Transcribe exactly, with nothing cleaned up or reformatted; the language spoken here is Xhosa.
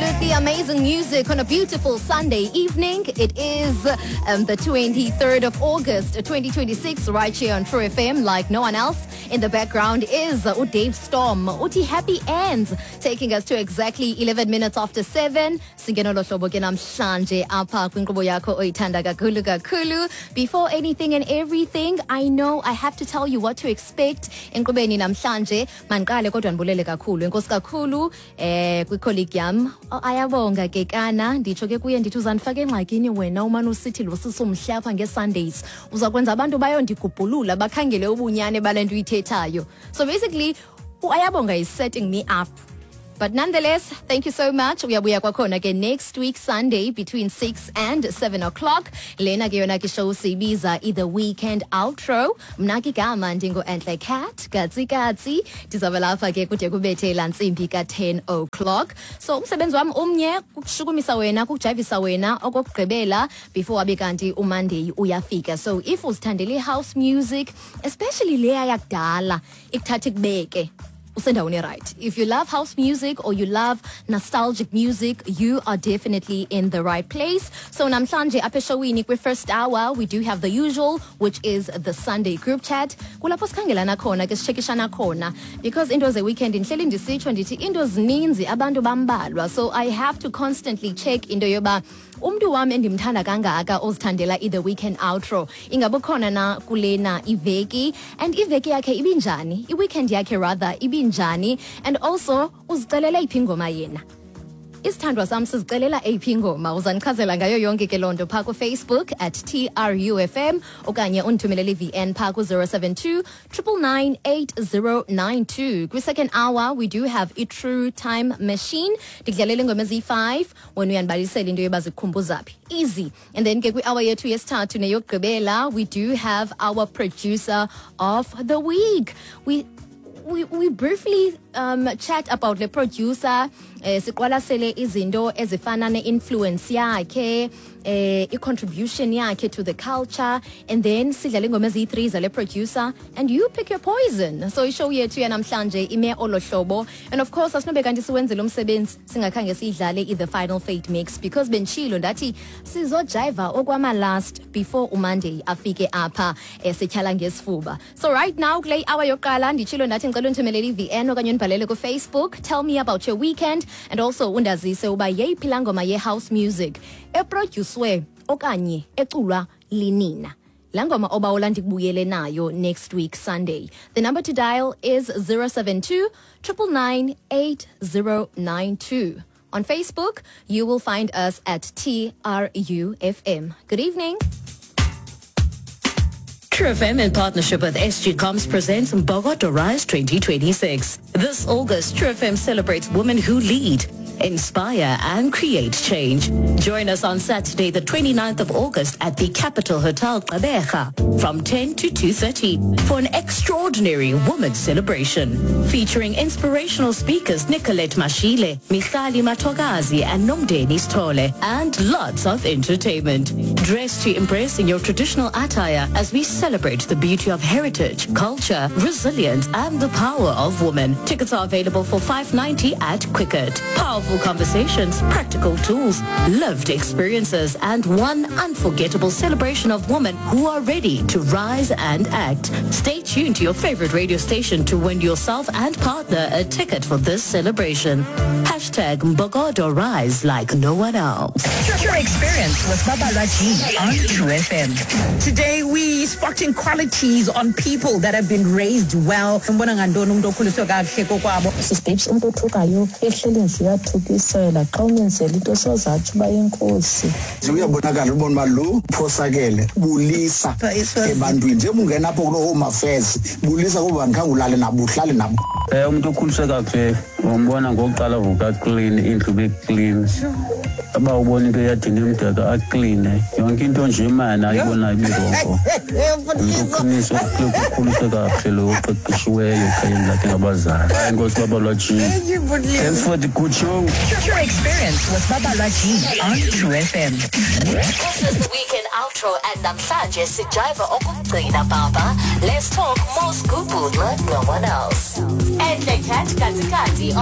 Absolutely amazing music on a beautiful Sunday evening. It is um, the twenty-third of August twenty twenty-six, right here on True F M, like no one else. In the background is uh, Dave Storm, uthi "Happy Ends", taking us to exactly eleven minutes after seven. Singena lohlobo ke namhlanje apha kwinkqubo yakho oyithanda kakhulu kakhulu. Before anything and everything, I know I have to tell you what to expect enkqubeni namhlanje. Mandiqale kodwa ndibulele kakhulu. Enkosi kakhulu eh kwicolleague yam. Oh, Ayabonga ke kana, nditsho ke kuye ndithi uzandifaka engxakini wena umane usithi lo sisumhle apha ngeSundays. Uza kwenza abantu bayondigubhulula bakhangele ubunyane bale nto uyithethayo. So basically uAyabonga is setting me up. But nonetheless, thank you so much. Uyabuya kwakhona ke next week Sunday between six and seven o'clock. Lena ke yona ke show siyibiza i-The Weekend Outro. Mna ke igama ndingu-Entle Cat, Katsi Katsi. Ndizawube lapha ke kude kubethe laa ntsimbi ka-ten o'clock. So umsebenzi wam umnye, kukushukumisa wena, kukujayivisa wena okokugqibela before abe kanti uMonday uyafika. So if uzithandele i-house music, especially leya yakudala, ikuthatha ikubeke usendaweni right. If you love house music or you love nostalgic music, you are definitely in the right place. So namhlanje apha eshowini kwi-first hour, we do have the usual, which is the Sunday group chat. Kulapho sikhangelana khona ke, sitshekishana khona, because into ze-weekend, ndihleli ndisitsho ndithi into zininzi, abantu bambalwa. So I have to constantly check into yoba umntu wam endimthanda kangaka ozithandela i-The Weekend Outro ingabe ukhona na kulena iveki, and iveki yakhe ibinjani, i-weekend yakhe rather ibinjani, and also uzicelela iphi ingoma yena. Isithandwa sam sizicelela eyiphi ingoma? Uzandichazela ngayo yonke ke loo nto phaa kuFacebook at T R U F M okanye undithumelele i-V N phaa ku-zero seven two nine nine nine eight zero nine two. Kwi-second hour we do have i-True Time Machine. Ndikudlalela ingoma eziyi-five, wena uyandibalisela into yoba zikukhumbuza phi. Easy. And then ke kwi-hour yethu yesithathu neyokugqibela, we do have our producer of the week. we we, we briefly um, chat about the producer, eh, siqwalasele izinto ezifana ne-influence yakhe, eh, i-contribution yakhe to the culture, and then sidlale ingoma eziyi-three zale producer and you pick your poison. So ishow yethu yanamhlanje ime olo hlobo, and of course asinobe kanti siwenzele umsebenzi singakhange siyidlale i-The Final Fate Mix, because benditshilo ndathi sizojayiva okwama-last before uMonday afike apha, eh, sityhala ngesifuba. So right now kule hour yokuqala, nditshilo ndathi ndicela undithumelele i-V N okanye undibhalele kuFacebook. Tell me about your weekend and also undazise uba yeyiphi laa ngoma ye-house music eprodyuswe okanye eculwa linina, laa ngoma obawula ndikubuyele nayo next week Sunday. The number to dial is zero seven two nine nine nine eight zero nine two. On Facebook, you will find us at T R U F M. Good evening. True F M in partnership with S G Comms presents Mbokodo Rise twenty twenty-six. This August, True F M celebrates women who lead, inspire and create change. Join us on Saturday, the twenty-ninth of August at the Capital Hotel Gqeberha from ten to two thirty for an extraordinary women's celebration featuring inspirational speakers Nicolette Mashile, Michali Matogazi and Nomdeni Stole, and lots of entertainment. Dress to impress in your traditional attire as we celebrate the beauty of heritage, culture, resilience and the power of women. Tickets are available for five ninety at Quicket. Powerful conversations, practical tools, lived experiences and one unforgettable celebration of women who are ready to rise and act. Stay tuned to your favorite radio station to win yourself and partner a ticket for this celebration. Hashtag Mbokodo Rise like no one else. Your experience with Babalwa G on True F M. Today we spotting qualities on people that have been raised well. Umbona ngantoni umuntu okhuliswe kakuhle kokwabo? Sis Babes, umntu othukayo ehleli nje uyathukisela, xa umenzela into sozatsho uba inkosi. Uyabonakala ubona uba lo uphosakele. Bulisa ebantwini njengoba ungena apho kuloo Home Affairs, bulisa kuba ndikhange ulale nabo, uhlale nabo. um umntu okhuliswe kakuhle umbona ngokuqala avuka clean, indlu ibe clean, uba ubona into eyadini emdaka akline yonke into nje imani ayibonayo ibirongo. Umntu oqiniswe ukhuliswe kakuhle lo oqeqeshiweyo ekhayeni lakhe ngabazali. Hayi, inkosi Babalwa G. Thanks for the good show. Your experience with Babalwa G on True F M. This is the Weekend Outro and namhlanje sijiva okugcina baba. Let's talk more scoop like no one else. Enhle Cat Kati Kati.